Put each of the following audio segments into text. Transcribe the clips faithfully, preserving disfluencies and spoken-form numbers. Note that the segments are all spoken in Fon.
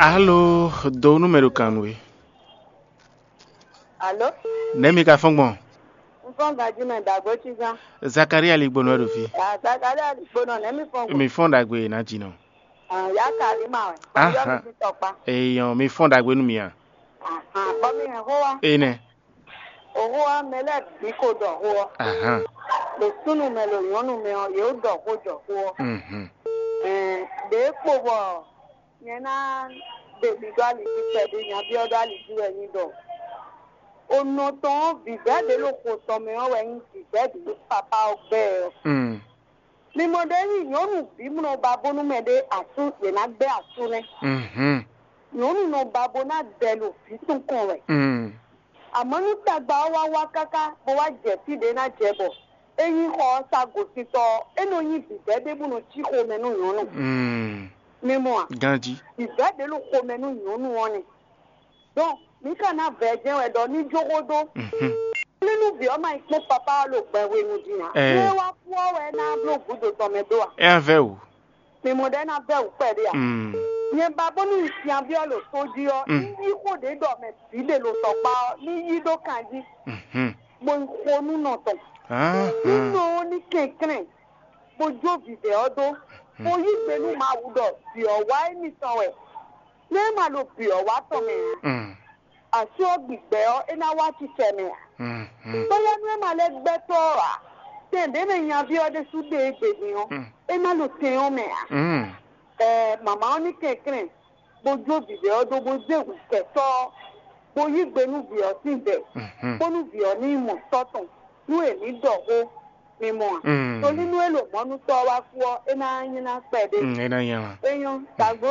Alo, do nú mɛ ɖo kan nú we. Alo? Nɛ̌ mi ka fɔ́n gbɔn? Un fɔ́n ganjí mɛ dǎgbó cígán. Zakaria Ligbonu wɛ ɖo fí. Ah, Zakaria Ligbonu, nɛ̌ mi fɔ́n gbɔn? Mi fɔ́n ɖagbe ná jinɔ. Ah, ya ka lí ma wɛ. Aha. Yɔ mi tɔkpa. Eyɔn, mi fɔ́n ɖagbe nú mi a? Aha, bɔ mi hɛn xó wa. Enɛ. Oxó wa mɛ lɛ́ɛ bǐ ko ɖɔ xó ɔ́. Aha. Ɖo súnnu mɛ ɖo nyɔ̌nu mɛ ɔ́, yě ɖɔ xó jɔ xó ɔ́. Mhm. Ɛɛ, ɖě kpo bɔ nyɛ ná ɖe mi ɖó ali jí kpɛɖé, nya byɔ́ ɖó ali jí wɛ nyí ɖɔ. O nɔ tɔn ɔ́, vǐvɛ́ ɖě ɖo xo tɔn mɛ ɔ́ wɛ nyí vǐvɛ́ ɖě papá ɔ́ gbɛ́ ɔ́. Mm. Mi mɔ ɖě nyí nyɔ̌nu bǐ mlɔ ba bónú mɛ ɖé asú yě ná gbɛ́ asú nɛ́. Mhm. Nyɔ̌nu nɔ ba bó ná dɛ ɖo vǐ tɔn kɔn wɛ. Mm. Amɔ̌ nú tagba ɔ́ wá wá káká bó wá jɛ fí ɖě ná jɛ bɔ é nyí xɔ ɔ́ sa gosíntɔ́ ɔ́, é nɔ nyí vǐvɛ́ ɖé bó nɔ cí xomɛ nú nyɔ̌nu. Mm. Mi mɔ a? Ganjí. Vǐvɛ́ ɖě ɖo xomɛ nú nyɔ̌nu ɔ́ nɛ́. Dɔn mǐ ka ná vɛ jɛ́n wɛ ɖɔ ní jó xó dó. Mhm. Nínú vǐ ɔ́ ma yi kpɔ́n papá ɔ́ ɖo gbɛ hwenu din ǎ. Ɛ. Nú é wá kú ɔ́ wɛ é ná bló gǔdo tɔn mɛ dó a? É ná vɛ́ wǔ. Mi mɔ ɖɔ é ná vɛ́ wǔ kpɛɖé a? Mm. Nyɛ ba bónú un syɛ́nví ɔ́ ɖo tó jí ɔ́, Mm. ní yí xó ɖě ɖɔ mɛ bǐ ɖe ɖo tɔkpá ɔ́, ní yí ɖó kan jí, Mhm. bó yi xo nú nɔ tɔn. Ahán. Nú nɔ ɔ́ ní kɛnklɛ́n, bó jó vǐvɛ́ ɔ́ dó, bó yí gbe nú Mawu ɖɔ vǐ ɔ́ wá émítɔn wɛ. Nú é ma ɖo vǐ ɔ́ wá tɔn mɛ ǎ, Mm. asú ɔ́ gbigbɛ ɔ́, é ná wá acicɛ mɛ ǎ. Mhm. Bóyá nú é ma lɛ́ gbɛ́ tɔ́ ɔ́ ǎ, tɛn ɖě mɛ nyaví ɔ́ ɖésú ɖe é gbe din ɔ́, Mm. é ná ɖo tɛn ɔ́ mɛ ǎ. Mm. Ɛɛ, mama ɔ́ ní kɛnklɛ́n, bó jó vǐvɛ́ ɔ́ dó bó zé hǔnkɛtɔ́ ɔ́, bó yí gbe nú vǐ ɔ́ sín vɛ, Mhm. bónú vǐ ɔ́ ní yi mɔ tɔ́ tɔn, nú è ní ɖɔ xó, mi mɔ a? Mm. Tónú nú é ɖo mɔ̌nútɔ́ ɔ́ wá kú ɔ́, é ná nyí ná kpɛɖé. Mm, é ná nyí ná. É nyɔ́, tagbo.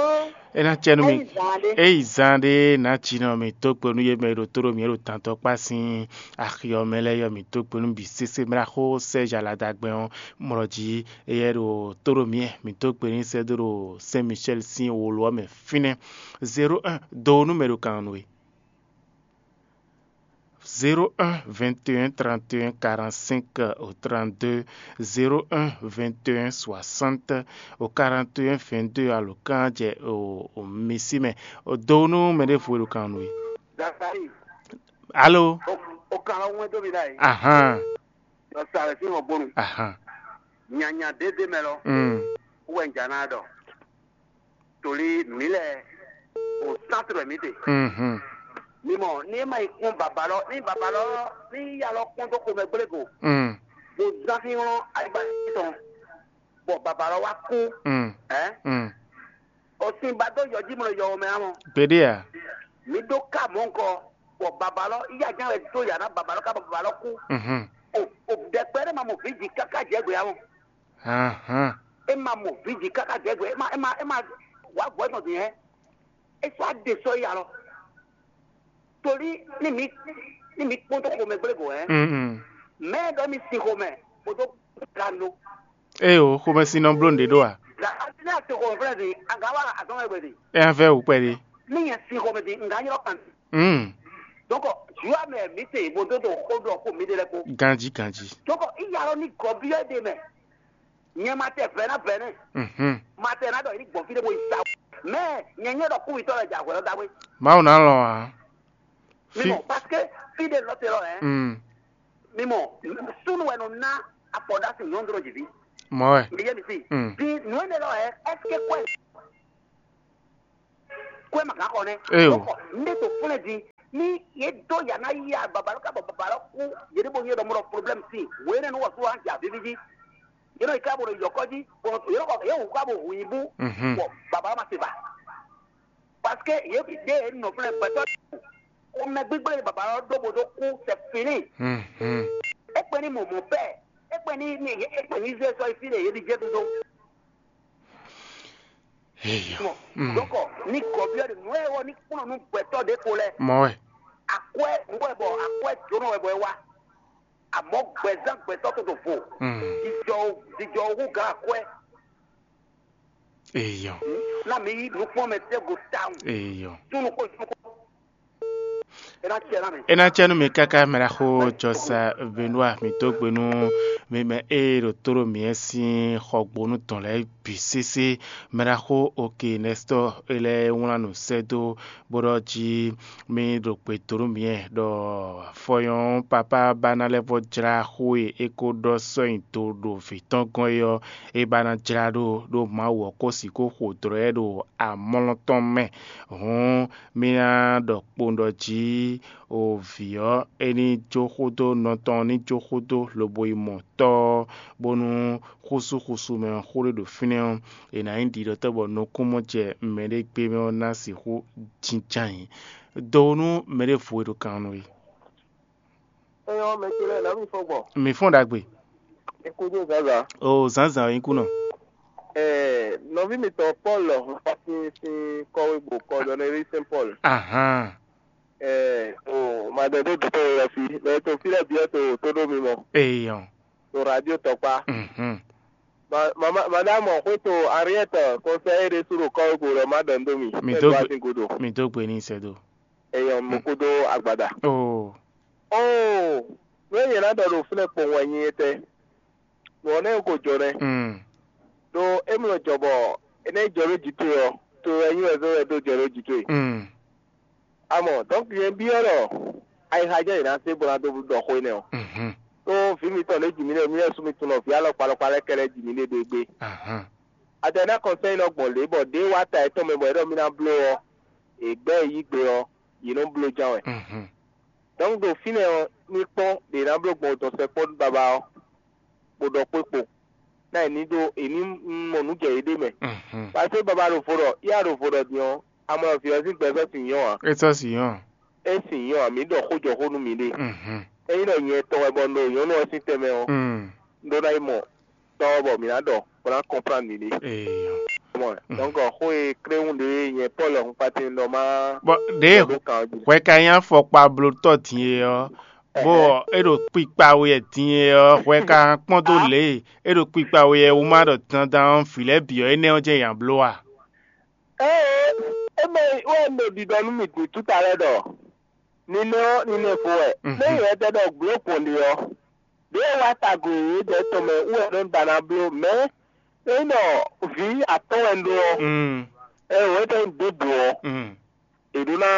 É ná cɛ nú mi. É yi zan ɖé. É yi zan ɖé ná jí nɔ mi tó kpe nú yé mɛ e ɖo tó ɖo mǐ e ɖo tantɔ kpá sín axi ɔ́ mɛ lɛ́ɛ yɔ mǐ tó kpe nú bǐ sésé mlá xó sɛ́ zǎladagbɛn ɔ́ mlɔ jí. Éyɛ́ ɖo tó ɖo mǐ mǐ tó kpe n'i sɛ́ dó ɖo Sɛn Micɛ́li sín wolo ɔ́ mɛ fínɛ́. Zéro un, do nú mɛ ɖo kan nú we. Zéro un, vingt et un, trente et un, quarante-cinq, au trente-deux, zéro un, vingt et un, soixante, au quarante et un, vingt-deux, alo kan jɛ o o mi sí mɛ. O do nú mɛ ɖěvo e ɖo kan nú we. Zakari, Alo. O o kan lɔ wɛn dó mi ɖa yi. Ahan. Yɔ sa rɛ sí hɔn bónu. Ahan. Nyanya dédé mɛ lɔ. Mm. Wɛ n jà ná ɖɔ. Torí mǐ lɛ o sántrɔ mǐ te. Mhm. Mi mɔ ní é ma yi kpɔ́n baba lɔ ní baba lɔ ní ya lɔ kpɔ́n dó xomɛ gblé go. Mm. Bó zán xínxlɔ́n ayigba tɔn, bɔ baba lɔ wá kú. Mm. Ɛ Mm. O sin ba dó yɔ jí mlɔ yɔ mɛ amɔ. Gbeɖé a? Mǐ ɖó ká mɔ̌ ŋkɔ, bɔ baba lɔ yí aján wɛ dó yǎ ná baba lɔ ká bɔ baba lɔ kú. Mhm. O o ɖɛkpɛ ɖé ma mɔ vǐ jǐ káká jɛ gbě amɔ. Ahan. É ma mɔ vǐ jǐ káká jɛ gbě, é ma é ma é ma wǎ gbɔ̌ tɔn din hɛn. É sɔ́ á ɖe sɔ́ yi alɔ. Torí ní mǐ ní mǐ kpɔ́n dó xomɛ gblé go hɛn. Mm. Mɛ ɖɔ mi sin xomɛ kpódó gando. Ée o, xomɛsin nɔ bló nǔɖé ɖó a? Gǎn ní a to xomɛ flɛ́ din, a gǎn wa azɔn wɛ gbɛ din. É ná vɛ́ wǔ kpɛɖé. Ní nyɛ sin xomɛ din, n gǎn ylɔ́ kan. Mm. Donc, ju amɛ mǐ se bo dó ɖo xó ɖɔ xó mǐ ɖe lɛ́ɛ kpó. Ganjí ganjí. Donc, í ya lɔ ní gɔ̌ byɔ́ ɖe mɛ. Nyɛ ma tɛ vɛ̌ ná vɛ̌ nɛ́. Mhm. Ma tɛ ná ɖɔ yě ní gbɔn fí ɖé bo yi sa. Mɛ nyɛ nyɛ ɖɔ kúwitɔ́ lɛ jɛ ahwɛ ɔ́ dáwé. Mawu ná lɔn ǎ. Mi Fí mɔ parce que fí ɖé lɔ te lɔ hɛn. Mm. Mi mɔ súnnu wɛ nɔ ná afɔ ɖó asi nyɔ̌nu ɖo jǐví. Mɔ wɛ. Mi yé mi si. Mm. Di nǔ énɛ́ lɔ hɛn ɛsike kwɛ kwɛ ma gǎn xɔ nɛ́. Eyo. Kɔ ne to flɛ́ di ní yé dó yǎ ná yá babalɔ ká bɔ babalɔ kú yě ɖé bo nyɛ ɖɔ mɔ ɖɔ problème si wě nɛ́ nú wɔ sú wá jà víví jí. Yě nɔ yi ká bo ɖo yɔ̌kɔ jí bɔ yě nɔ kɔ yě wǔ ká bo hu nyi bú. Mhm. Bɔ babalɔ ma se ba. Parce que yě ɖe yě nɔ flɛ́ gbɛtɔ́ xomɛ gbígbé e baba ɔ́ ɖó bo dó kú, c'est fini. Mhm. É kpɛn ní mɔ mɔ pɛ, é kpɛn ní ní é kpɛn ní zé sɔ́ yi fí ɖe yě ɖi jɛ dodo. Eyo. Mɔ Mm. Donc ni gɔbyɔ de nǔ e wɔ ní kplɔ́n nú gbɛtɔ́ ɖě ko lɛ. Mɔ wɛ. Akwɛ nǔ wɛ bɔ akwɛ jǒnɔ wɛ bɔ é wá. Amɔ̌ gbɛzán gbɛtɔ́ tó ɖo vo. Mm. Jijɔ jijɔ hú gán akwɛ. Eyo. Na mi yi nukpɔn mɛ tɛ go tawun. Eyo. Tunu ko tunu ko. É ná cɛ ná mɛ. É ná cɛ nú mi káká, mɛɖaxó Jɔsa Benua, mi dó gbe nú mi mɛ e ɖo tó ɖo mǐ sín xɔgbónu tɔn lɛ́ɛ bǐ sésé. Mɛɖaxó Oke Nɛstɔ e lɛ́ɛ wlán nǔ sɛ́ dó bó ɖɔ jí mì ɖo gbe dó nú mǐ ɖɔ fɔyɔn papá ba ná lɛ́ vɔ jlá xó e é ko ɖɔ sɔ́ nyi do ɖo vǐ tɔn gɔ́n é ɔ́, é ba ná jlá ɖó ɖó Mawu ɔ́ ko sixú xo dlɔ̌ ɛ ɖo amlɔ tɔn mɛ. Hǔn mì ná ɖɔ kpowun ɖɔ jǐ o vǐ ɔ́, é ní jó xódó nɔ tɔn ní jó xódó lobo yi mɔ tɔ́ ɔ́, bónú xúsúxúsú mɛ ɔ́ xó ɖé ɖo fínɛ́ ɔ́, è nǎ nyí ɖiɖɔtɔ́ bɔ nukúnmɔjɛ mɛɖé gbé mɛ ɔ́ ná sixú jínjɔ́n ayǐ. Do nú mɛɖěvo e ɖo kan nú we. Eyɔ́ mɛ ce lɛ́ɛ nǎ mi fɔ gbɔ. Mǐ fɔ́n ɖagbe. Ekúdó zǎnzǎn. O zǎnzǎn ɔ́ nyí kúnɔ. Ɛɛ, nɔví mitɔn Pɔ́lu lɔ hun xɔsin sín kɔ́wé gbo kɔdɔnɛrí Sɛn Pɔ́lu. Ahán. Ɛɛ, o madɛdó dutɔ yɛ fi, mɛ to fí lɛ́ɛ biɛ to tó ɖó mi mɔ. Eyɔn. To radio tɔkpa. Mhm. Ma- mama- Madame xwéto Henriette conseil ɖé sú ɖo kɔ́wé gbo lɔ ma ɖɔ nú mi. Mi dó gbe- Sin godo. Mi dó gbe ní sɛ́ dó. Eyɔn, mo kúdó agbada. Oo. Oo, nú nyɛ ná ɖɔ ɖo fínɛ́ kpowun wɛ nyi etɛ́. Nǔ ɔ́ nɛ́ ko jɔ nɛ́. Mm. Ɖó é mlɔ jɔ bɔ é ná yi jɔ ɖó jǐ towe ɔ́, to wɛ nyí wɛ zɔ́n wɛ dó jɔ ɖó jǐ towe. Mm. Amɔ, donc nyɛ byɔ́ ɖɔ ayixa jɛ́n yě ná se bó ná dó ɖɔ xó énɛ́ ɔ́. Mhm. Ɖó vǐ mitɔn ɖě ji mǐ ɖe mǐ lɛ́ɛ sú mi tunwun ɖɔ vǐ alɔkpa alɔkpa lɛ́ɛ kɛlɛ́ ji mǐ ɖe ɖo égbé. Ahán. Adɛ̌ ná kɔnsɛ́ nɔ gbɔn lě bɔ ɖě wa ta yětɔn mɛ bɔ é ɖɔ mì ná bló ɔ́, è gbɛ́ e yí gbe ɔ́, yě nɔ bló ján wɛ. Mhm. Donc ɖo fínɛ́ ɔ́, ní kpɔ́n ɖě ná bló gbɔn dɔn sɛkpɔ́ babá ɔ́, bó ɖɔ xwé kpo, ná è ní ɖó è ní mɔ nǔ jɛ yěɖée mɛ. Mhm. Paseke baba ɖo vo ɖɔ yá ɖo vo ɖɔ din ɔ́, amɔ vǐ ɔ́ sín gbɛ sɔ́ sin nyɔ́ ǎ. É sɔ́ sin nyɔ́. É sin nyɔ́ ǎ, mǐ ɖɔ xó jɔ xó nú miɖée. Mhm. Ényí ɖɔ nyɛ tɔn wɛ bɔ un ɖo nyɔ̌nu ɔ́ sín tɛnmɛ ɔ́, Mm. un ɖó ná yi mɔ tɔ́ ɔ́ bɔ mǐ ná ɖɔ bó ná kɔnplán miɖée. Eyɔn. Mɔ Mm. Donc xó e kléwún ɖě nyɛ Pɔ́lu hun kpatín ɖɔ má Bɔ ɖěe ɖɔ ɖó kan ɔ́ jí. Hwɛ ka nyí afɔkpablótɔ́ din e ɔ́, bó Ɛhɛn. É ɖo kpikpa we wɛ din e ɔ́, hwɛ ka kpɔ́n dó Á. Lě e é ɖo kpikpa we wɛ wú má ɖɔ dandan ɔ́, vǐ lɛ́ɛ bǐ ɔ́, énɛ́ ɔ́ jɛ́n nya bló a? Ée é mɛ wɛ un ɖo ɖiɖɔ nú mì din túta lɛ́ɛ ɖɔ ninɛ ɔ́ ninɛ vo wɛ. Mhm. Nú nyɛ tɛ ɖɔ gblo gbɔn ɖe ɔ́, ɖěe wá tagun yědɛɛ tɔn mɛ wú wɛ nɔ ɖa ná bló, mɛ̌ é nɔ vǐ atɔ́ɔ́n wɛ un ɖó ɔ́, Mm. ɛ wǒ é tɛ́ nyí dǒ bǔ ɔ́, Mm. è ɖǒ ná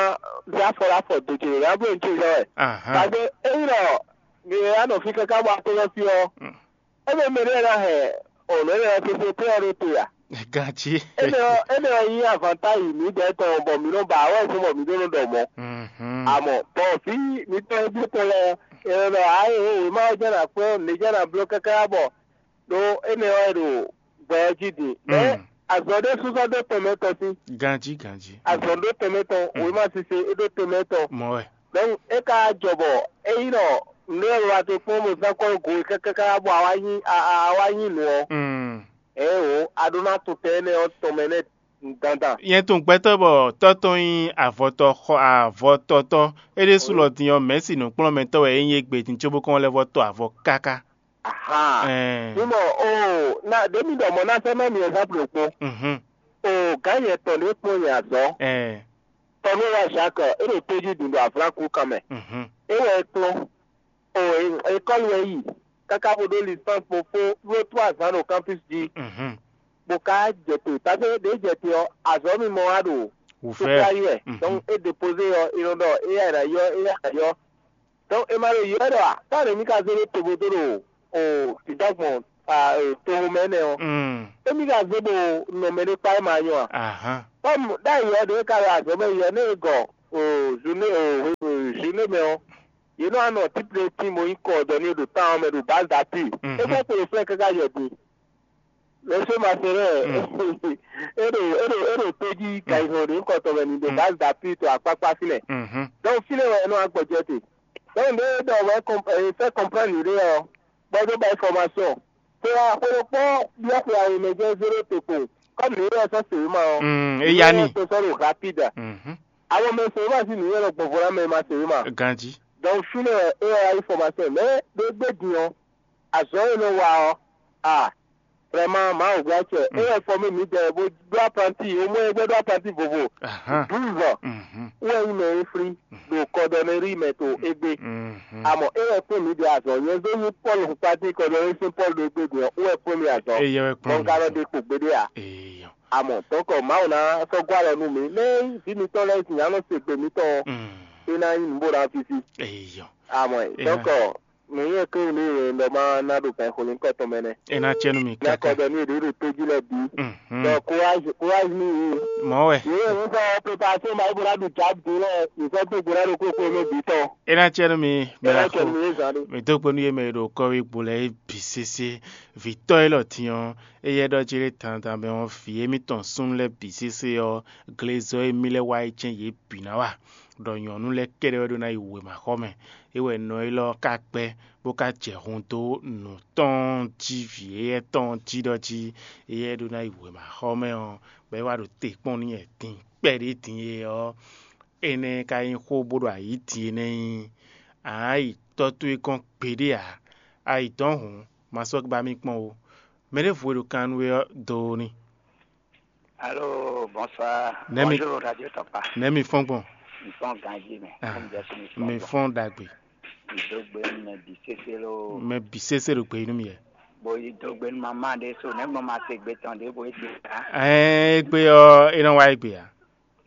zé afɔ ɖó afɔ do ce ɖě ná bló nǔ ce zɔ́n wɛ. Ahán. Tagbe ényí ɖɔ mi e wá nɔ fí káká bɔ atɔ́nɔ́ fí ɔ́, Mm. é mɛ mɛ ɖé ná hɛn ɔ̌ nɔ é ná sese pé ɔ́ ɖó te a? Ganjí. Énɛ́ ɔ́ énɛ́ ɔ́ nyí avantáyi mǐdɛɛ tɔn bɔ mǐ nɔ ba awɛ fún bɔ mǐ ɖó nɔ ɖɔ mɔ̌. Mhm. Amɔ bɔ vǐ mǐtɔn e bló tɔn lɛ́ɛ, è nɔ ɖɔ ayé wěma ɔ́ jɛ́n ná kpɔ́n nǔ jɛ́n ná bló káká bɔ ɖó énɛ́ ɔ́ è ɖo gbɛ ɔ́ jí din. Mɛ̌ Mm. azɔ̌ ɖé súsɔ́ dó tɛnmɛ tɔn sín? Ganjí, ganjí. Azɔ̌ ɖó tɛnmɛ tɔn, Mm. wěma sise é ɖó tɛnmɛ tɔn. Mɔ̌ wɛ. Donc é ka jɔ bɔ é nyí ɖɔ nǔ e wa te kpɔ́n bó zán kɔ́ go káká bɔ a wá nyí a a- a wá nyí nǔ ɔ́, Mm. ɛ o, a ɖó ná to tɛn énɛ́ ɔ́ tɔn mɛ nɛ́ dandan. Nyɛ tunwun gbɛtɔ́ bɔ tɔ́ tɔn nyí avɔtɔ xɔ avɔtɔtɔ́, é ɖésú lɔ din ɔ́, mɛ̌si nǔkplɔ́nmɛtɔ́ wɛ é nyí égbé din cóbó kɔn lɛ́ vɔ tɔ avɔ káká. Ahan. Ɛɛ. Mi mɔ o na ɖe mi ɖɔ mɔ na sɛ ma mi ɛzanplu kpo. Mhm. O gǎn yɛ tɔn ɖe kpɔn yɛ azɔ. Ɛɛ. Tɔnu wa Jacques e ɖo toji dun ɖo avlanku kan mɛ. Mhm. E wɛ e kplɔn. O ekɔlu wɛ yi kaka bo ɖo licence bo fo ɖo to azan ɖo campus ji. Mhm. Bo ka jɛ to tafe ɖe jɛ te ɔ azɔ mi mɔ wa ɖo Wufɛ. Sukla yi wɛ. Mhm. Donc e dépose ɔ e nɔ ɖɔ e ya na yɔ e ya na yɔ. Donc e ma ɖo yɔ ɖɔ a ta ɖe mi ka zé ɖo tobodo ɖo o dida gbɔn a e toxo mɛ nɛ ɔ. Mm. E mi ka zé bo nɔ mɛ ɖe kpa e ma nyɔ a. Ahan. Comme ɖ'ayǐ ɔ́ ɖě ka ɖo azɔ̌ mɛ yi ɔ́, nú è gɔ o zune o zune mɛ ɔ́, yě nɔ wá nɔ típlé tín bo nyí kɔ dɔ ní ɖo tán ɔ́ mɛ ɖo bǎ da pí. Mhm. É fɔ kpo ɖo flɛ́ káká yɔ din. Lɛsɛ ma se rɛ Mm. é ɖo é ɖo é ɖo tó jí kayixɔ ɖě kɔtɔ mɛ ní ɖo Mm. bǎ da pí to akpákpá fínɛ́. Mhm. Donc fínɛ́ wɛ é nɔ wá gbɔjɛ́ te. Donc ɖé ɖɔ wɛ fɛ comprendre ɖé ɔ́, bɔ é dó ba information. Xwe xwe ɖokpó byɔ́ xwe awe mɛ jɛ́n zéro te kpo, comme nǔ e wɛ sɔ́ sewema ɔ́. Mm, é yá ni. To sɔ́ ɖo rapide. Mhm. Àwọn mɛ sewema sín nǔ e wɛ nɔ gbɔnvɔ ná mɛ ma sewema. Ganjí. Donc fínɛ́ wɛ é wɛ wá yí formation mɛ ɖé gbé din ɔ́, azɔ̌ e nɔ wa ɔ́, a Vraiment, Mawu gblá acɛ. É wɛ fɔ mì mǐdɛɛ bó ɖó apranti, omɔ e gbɛ́ ɖó apranti vovo. Douze ans. Wɛ nyí mɛ e flí ɖo kɔdɔnɛrí mɛ to égbé. Amɔ é wɛ kpɔ́n mǐdɛɛ azɔn. Nyɛ zó nyí Pɔ́lu xukpátín kɔdɔnɛrí sín Pɔ́lu ɖo égbé din ɔ́, é wɛ kpɔ́n mì azɔn. Bɔ un ka nɔ ɖe kpo gbeɖé ǎ. Amɔ tɔ́nkɔ Mawu ná sɔ́ gɔ́ alɔ nú mǐ. Nɛ́ vǐ mitɔn lɛ́ɛ sin nya nɔ se gbe mitɔn ɔ́, é ná nyí nǔ bó ná fífí. Amɔ tɔ́nkɔ nǔ nyɛ kléwún ní e ɖɔ má ná ɖo gan xolínkɔ tɔn mɛ nɛ́. É ná cɛ nú mi Ná káká. Kɔ ɖɔ ní e ɖě ɖo tójú lɛ́ɛ bǐ. Mhm. Donc courage, courage nú yě. Mɔ̌ wɛ. Yě e wọ́n sɔ́ préparation ma é bó ná ɖu jǎ dó lɛ́ɛ, yě sɔ́ dó gbo ná ɖo kókó nú bǐ tɔn. É ná cɛ nú mi É ná cɛ mɛɖaxó. Nú yě zán ɖé. Mi dó gbe nú yě mɛ e ɖo kɔ́wé gbo lɛ́ɛ é bǐ sésé. Vǐtɔ́ élɔ́ din ɔ́, éyɛ́ ɖɔ jí ɖé dandan mɛ ɔ́, vǐ émítɔn súnnu lɛ́ɛ bǐ sésé ɔ́, glezɔ́ émí lɛ́ɛ wá yi jɛ́n yě bǐ ná wa, ɖɔ nyɔ̌nu lɛ́ɛ kɛ́ɖɛ́ wɛ ɖó ná yi wěmaxɔmɛ. É wɛ nɔ élɔ́ ɔ́ ka gbɛ́, bó ka jɛ hun dó nǔ tɔn jí vǐ éyɛ́ tɔn jí ɖɔ jí éyɛ́ ɖó ná yi wěmaxɔmɛ ɔ́, bɔ é wá ɖo te kpɔ́n n'i wɛ din kpɛɖé din e ɔ́, énɛ́ ka nyí xó bó ɖo ayǐ din é nɛ́ nyí. Ǎ yi tɔ́ towe gɔ́n gbeɖé ǎ. A yi dɔ̌n hǔn, ma sɔ́ ba mì kpɔ́n ó. Mɛ ɖěvo e ɖo kan nú we ɔ́, dó ó n'i. Allô, bonsoir. Nɛ́ mi- Bonjour, Radio Tɔkpa. Nɛ́ mi fɔ́n gbɔn? Mi fɔ́n ganjí mɛ. Ah, Fɔ́n jɛ sí mi fɔ́n mi gbɔn. Fɔ́n ɖagbe. Mi dó gbe nú mɛ bǐ sésé ló. Mɛ bǐ sésé ɖo gbe nú mi yɛ. Bo yi dó gbe nú mamá ɖé so, nɛ́ gbɔn ma se gbe tɔn ɖěvo é gbe ká. Ɛɛ, égbé ɔ́, é nɔ wá égbé ǎ.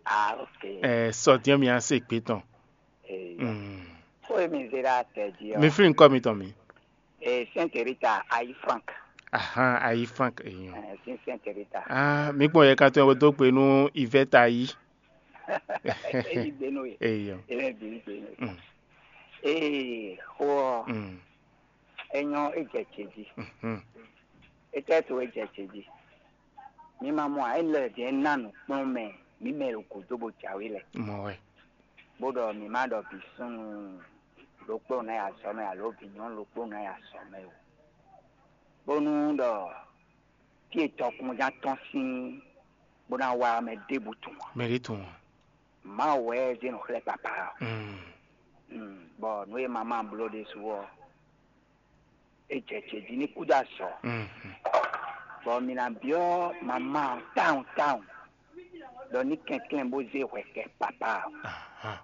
Ah, ok. Ɛɛ, sɔ dín mi á se gbé tɔn. Ee. Mm. Xó e mi zé ɖó atɛ jí ɔ́. Mi flín kɔ mitɔn mi. Ee, Sainte Rita, Ayi Frank. Ahan, Ayi Frank, èèyàn. Ɛɛ, sín Sainte Rita. Ah, mi kpɔn yɛ kan tó yɛ bó dó gbe nú Yvette Ayi. Eyi gbe nú ye. Èèyàn. Ebe bǐ gbe nú ye. Mm. Ee, xó ɔ́, Mm. É nyɔ́, é jɛ ce jí. Mhm. Étɛ́ to é jɛ ce jí? Mi ma mɔ ǎ, é lɛ́ vǐ ná nǔkplɔ́nmɛ mǐ mɛ e ɖo gǔdo bó jǎwe lɛ́ɛ, Mɔ wɛ. Bó ɖɔ mǐ má ɖɔ vǐ súnnu ɖokpó ná yi azɔ̌ mɛ alo vǐ nyɔ̌nu ɖokpó ná yi azɔ̌ mɛ ó, bónú ɖɔ fí e tɔkùnján tɔn sín bó ná wá mɛ ɖěbǔ tunwun ǎ. Mɛ ɖě tunwun ǎ. Mawu wɛ zé nǔ xlɛ́ papa ɔ́. Mm. Mm, bɔ nǔ e mama bló ɖésú ɔ́, é jɛ ce jí ní kúdó azɔ̌. Mhm. Bɔ mi ná byɔ́ mama ɔ́ tawun tawun ɖɔ ní kɛnklɛ́n bó zé hwɛ kɛ papa ɔ́. Aha.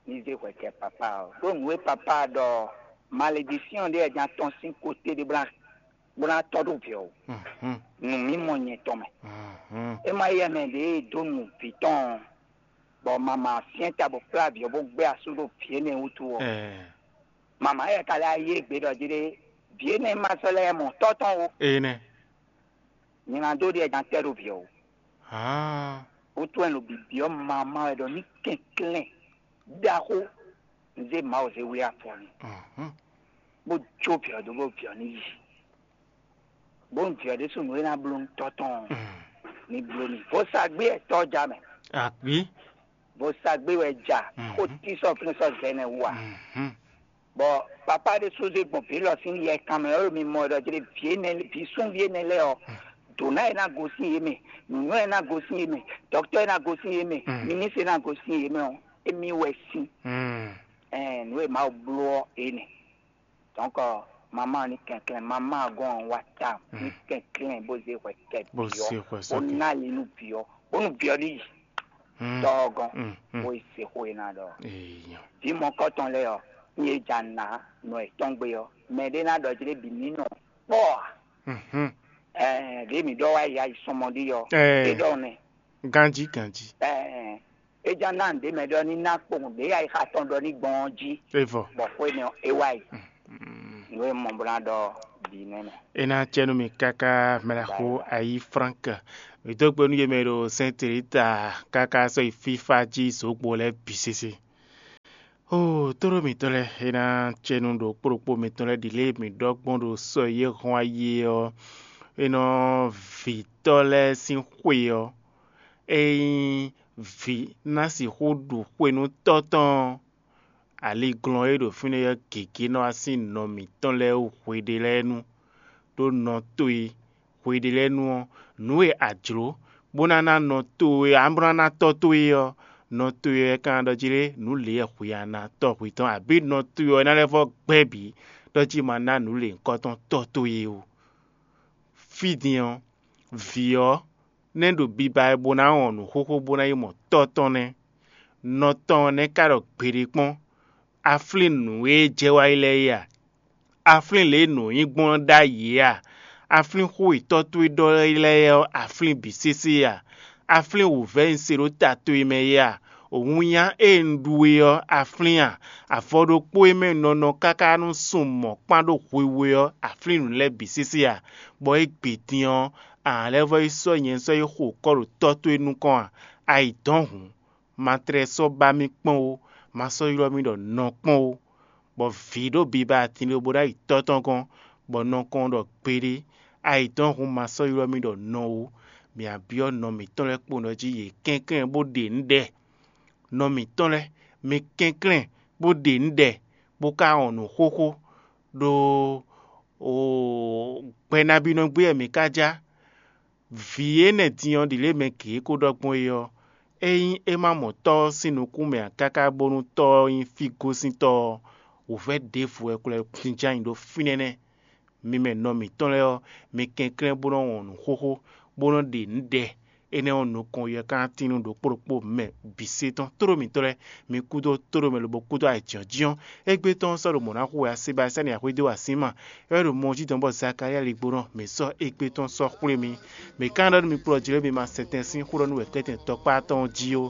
Ní zé hwɛ kɛ papa ɔ́. Ɖó nǔ e papa ɖɔ malédísyɔn ɖé wɛ ján tɔn sín kóté ɖé bó ná bó ná tɔ́ ɖó vǐ ɔ́ wú. Mhm. Nǔ mímɔ nyɛ tɔn mɛ. Mhm. É má yɛ mɛ ɖě e dó nu vǐ tɔn ɔ́, bɔ mama syɛ́n ta bó kplá vǐ ɔ́ bó gbé asú ɖo vǐ énɛ́ wútu ɔ́, Ɛɛ, mama éyɛ́ ka lɛ́ yí égbé ɖɔ jí ɖé, vǐ énɛ́ ma sɔ́ lɛ́ mɔ tɔ́ tɔn ó. Énɛ́. Nyɛ ná dó ɖiɛ gán tɛ́ ɖo vǐ ɔ́ wú. Haa. Wútu wɛ un ɖo bibyɔ́ mama wɛ ɖɔ ní kɛnklɛ́n ɖaxó un zé Mawu zé wlí afɔ n'i, Mhm. bó jó vǐ ɔ́ dó bó vǐ ɔ́ ní yi. Bó un vǐ ɔ́ ɖésú nǔ e ná bló nú tɔ́ tɔn ɔ́, Mm. ní bló n'i. Vodúnsagbé wɛ tɔ́ ɔ́ ja mɛ. Àbí? Vodúnsagbé wɛ ja, Mhm. xó tí sɔ́ fínɛ́ sɔ́ zɛ nɛ́ wú a? Mhm. Bɔ papá ɖé só zé gbɔn vǐ lɔ sín yɛ kan mɛ, ɔ́ ɖo mi mɔ ɖɔ jlé vǐ énɛ́, vǐ súnví énɛ́ lɛ́ɛ ɔ́, dǒná e ná gosín yě mɛ, nǔnywɛ́ e ná gosín yě mɛ, dɔkítɔ́ e ná gosín yě mɛ, Mm. minísɛ e ná gosín yě mɛ ɔ́, émí wɛ sín. Mm. Ɛn nǔ e Mawu bló ɔ́, é nɛ́. Dɔ̌nkɔ, mamá ní kɛnklɛ́n, mamá gɔ́n ɔ́ wá ta ní Mm. kɛnklɛ́n bó zé hwɛ kɛ Bó vǐ ɔ́, zé hwɛ bó sɔ́ kɛ. ná ali nú vǐ ɔ́, bónú vǐ ɔ́ ní yi. Mm. Tɔ́ ɔ́ gɔ́n, Mm, mm. bó yi se xó e ná ɖɔ. Èèyàn. Vǐ mɔkɔ́tɔn lɛ́ɛ ɔ́, ní e ja nǎ nɔ yětɔn gbe ɔ́, mɛ ɖé ná ɖɔ jlé bǐ ní nɔ kpɔ́ ǎ. Mhm. Ɛɛ, ɖě mǐ ɖɔ wá yi ayi sɔmɔ ɖi ɔ́, Ɛɛ. é ɖɔ nɛ. Ganjí, ganjí. Ɛɛ, é já ná nǔɖé mɛ ɖɔ ní ná kpowun ɖě ayixa tɔn ɖɔ ní gbɔn ɔ́ jí. Evɔ. Bɔ xwé nɛ ɔ́, é wá yi. Mm. Nǔ e mɔ bó ná ɖɔ bǐ nɛ́ mɛ. É ná cɛ nú mi káká mɛɖaxó Bye, bye. Ayí Frank. Mǐ dó gbe nú yě mɛ e ɖo Sɛ́n Telita káká sɔ́ yi fífá jí zǒgbo lɛ́ɛ bǐ sésé. Oo, tóɖó mǐtɔn lɛ́ɛ, é ná cɛ nú ɖokpó ɖokpó mitɔn lɛ́ɛ ɖi lě e mǐ ɖɔ gbɔn ɖo sɔ e yě hɔn ayi é ɔ́, é nɔ vǐtɔ́ lɛ́ɛ sín xwe ɔ́, ényí vǐ ná sixú ɖu xwe nú tɔ́ tɔn ɔ́, aliglɔ́n e ɖo fínɛ́ ɔ́ gěgé nɔ wá sín nɔ mǐtɔn lɛ́ɛ wú hweɖé lɛ́ɛ nu, ɖó nɔ towe hweɖé lɛ́ɛ nu ɔ́, nǔ e a jlǒ bó ná ná nɔ towe, ǎ bó ná ná tɔ́ towe ɔ́, nɔ towe wɛ ka ná ɖɔ jí lé nǔ lě wɛ hwe a ná tɔ́ hwe tɔn, abǐ nɔ towe ɔ́ ná lɛ́ vɔ́ gbɛ́ bǐ ɖɔ jí ma ná nǔ lě nyǐkɔ tɔn tɔ́ towe ó. Fí din ɔ́, vǐ ɔ́ nɛ́ ɖo biba wɛ bó ná wɔn nǔ xóxó bó ná yi mɔ tɔ́ tɔn nɛ́. Nɔ tɔn ɔ́ nɛ́ ka ɖɔ gbeɖé kpɔ́n. Aflín nǔ e jɛ wá yi lɛ́ɛ é a? Aflín lě e nǔ nyí gbɔn ɔ́ ɖ'ayǐ é a? Aflín xó e tɔ́ towe ɖɔ lɛ́ɛ ɔ́, aflín bǐ sésé a? Aflín wǔvɛ́ e un se ɖó ta towe mɛ é a? Wǔnya e un ɖu we ɔ́, aflín a? Avɔ ɖokpó e mɛ un nɔ nɔ káká nú sun mɔ̌ kpán ɖó hwihwe ɔ́, aflín nǔ lɛ́ɛ bǐ sésé a? Bɔ é gbe din ɔ́, a nǎ lɛ́ vɔ́ yi sɔ́ nyɛ sɔ́ yi xo kɔ́ ɖo tɔ́ towe nukɔn a? A yi dɔ̌n hǔn, ma tlɛ sɔ́ ba mì kpɔ́n ó, ma sɔ́ ylɔ́ mì ɖɔ nɔ kpɔ́n ó. Bɔ vǐ ɖo biba atin lobo ná yi tɔ́ tɔn gɔ́n, bɔ nɔ kɔn ɖɔ gbeɖé, a yi dɔ́n hun ma sɔ́ ylɔ́ mì ɖɔ nɔ ó. Mǐ byɔ́ nɔ mǐtɔn lɛ́ɛ kpo nɔ jí yě kɛnklɛ́n bó ɖe nǔ ɖɛ. Nɔ mǐtɔn lɛ́ɛ, mi kɛnklɛ́n bó ɖe nǔ ɖɛ, bó ka wɔn nǔ xóxó, ɖó gbɛ nabínɔ gbé wɛ mǐ ka já. Vǐ énɛ́ din ɔ́ ɖi lě mɛ gěgé ko ɖɔ gbɔn é ɔ́, ényí é ma mɔ tɔ́ ɔ́ sín nukún mɛ ǎ káká bónú tɔ́ ɔ́ nyí fí gosíntɔ́ ɔ́, wǔvɛ́ ɖěvo wɛ ko lɛ́ jínjɔ́n ayǐ ɖó fínɛ́ nɛ́. Mi mɛ nɔ mǐtɔn lɛ́ɛ ɔ́, mi kɛnklɛ́n bó nɔ́ wɔn nǔ xóxó, bó nɔ́ ɖe nǔ ɖɛ. Énɛ́ ɔ́, nukɔn yɛ ká tín nú ɖokpó ɖokpó mɛ bǐ sé tɔn. Tóɖó mǐtɔn lɛ́ɛ, mi kúdó tóɖó mɛ lobo kúdó ayǐjínjɔ́n. Égbé tɔn ɔ́ sɔ́ ɖo mɔ̌ ná xo wɛ así ba sɛ́ nǔ axwé dó así ma. É wɛ ɖo mɔ jí dɔn bɔ Zakalía ligbo nɔ mǐ sɔ́ égbé tɔn sɔ́ xwlé mi. Mǐ ka ɖɔ nú mi kplɔ́ jlě mi ma sɛtɛn sín xó ɖɔ nú wɛ̌kɛ́tɛn tɔkpá tɔn jí ó.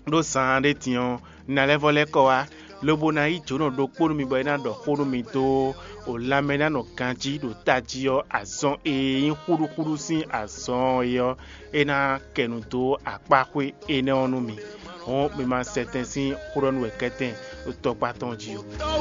Ɖó zaan ɖé din ɔ́, un ná lɛ́ vɔ́ lɛ́ kɔ wá, lobo ná yí jǒnɔ ɖokpó nú mi bɔ é ná ɖɔ xó nú mi dó o lanmɛ ná nɔ ganjí ɖo tají ɔ́, azɔn e nyí xúɖúxúɖú sín azɔn ɔ́ é ɔ́, é ná kɛ nu dó akpáxwé énɛ́ ɔ́ nú mi. Hɔn mi ma sɛtɛn sín xó ɖɔ nú wɛ̌kɛ́tɛn ɖo tɔkpá tɔn jí ó.